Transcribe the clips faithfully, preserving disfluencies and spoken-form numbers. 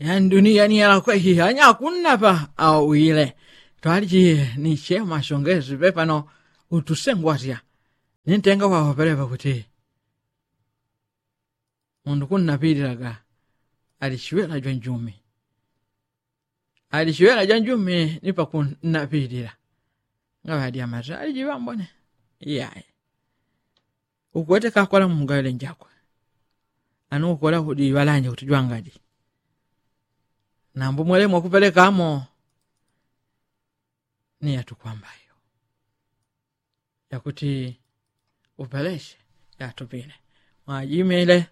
Yanduni yaniyela kwehi anyakunnapa awile. Twaliji ni chema shongezi pepano utusengwasya ni ntenga wawapelepa kuti mundu kunnapililaga ali chiwela jwa njumi. Ali chiwela jwa njumi ni pakunnapilila. Ngaŵadyamata ali jiŵambone iyaye. Ukwete kakwala mumugawile njakwe. Anu ukwela kudi iŵalanje kuti jwangaji nambu mwele mwakupelekamo. Ni yatukwambayo yakuti upeleshe yatupile mwajimile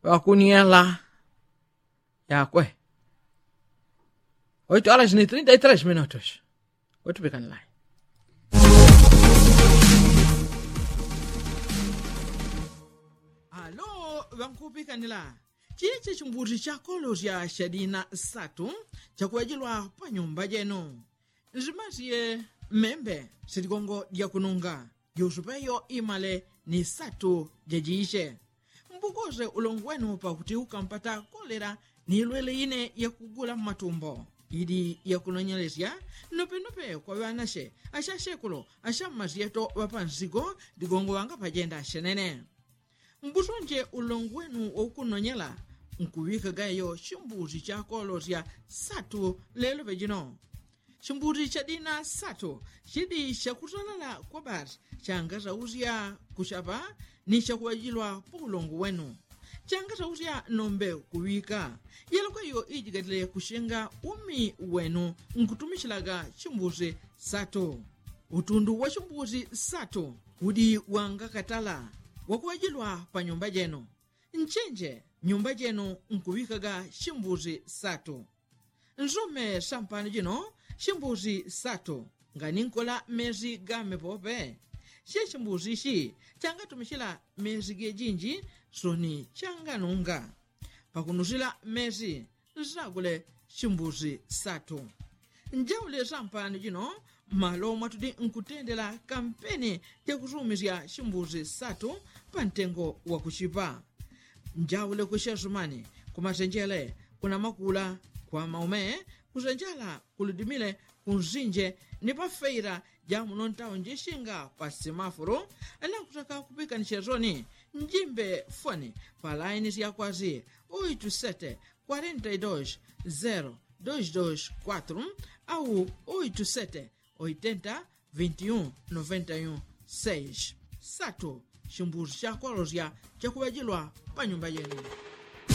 ŵakuniela yakwe. Oito alas ni trinta y tres minutos. Utupikanilai alo ŵankupikanila. Chichi chimbuti chakolosya shadina satu chakuŵajilwa pa nyumba jenu. Nzimasye mmembe siligongo lyakununga jusupeyo imale ni satu jajiche. Mbukose ulongo wenu pakuti ukampata kolela ni ilwele ine yakugula mmatumbo ili yakunonyelesya nopenope kwa ŵanashe ashashekulo ashammasyeto ŵapansigo ligongo ŵangapajenda shenene. Mbusunje ulongo wenu waukunonyela nkuŵikagayo chimbuti chakolosya satu lelo pejino. Chimbuti chadina satu chidi chakutolala kwa basi changasausya kuchapa ni chakuŵajilwa pa ulongo wenu. Changasausya nombe kuŵika yelokweyo ijigatile kuchenga umi wenu nkutumichilaga chimbuti satu. Utundu wa chimbuti satu udi wangakatala wakuŵajilwa pa nyumba jenu. Nchenje nyumba jenu nkuŵikaga chimbuti satu. Nsome sampano jino chimbuti satu nganinkola mesi game pope. Che chimbuti ichi changatumichila mesi gejinji soni changanunga. Pakunusila mesi nsagule chimbuti satu. Njaule sampano jino malo mwatudi nkutendela kampeni jakusumisya chimbuti satu pa ntengo wakuchipa. Njaule ku shesumani ku masenjele ku namakula kwa maume ku sanjala ku ludimile ku nsinje ni pa feila ja muno ntaunji shinga pa simafulu. Nakutaka kupikanisya soni njimbe foni pa laini sya kwasi oitu sete kwarenta i dos zero dos dos kwatru au oitu sete oitenta vinti un noventa i un seis. Satu chimbuti chakwalosya chakuŵajilwa pa nyumba jenu.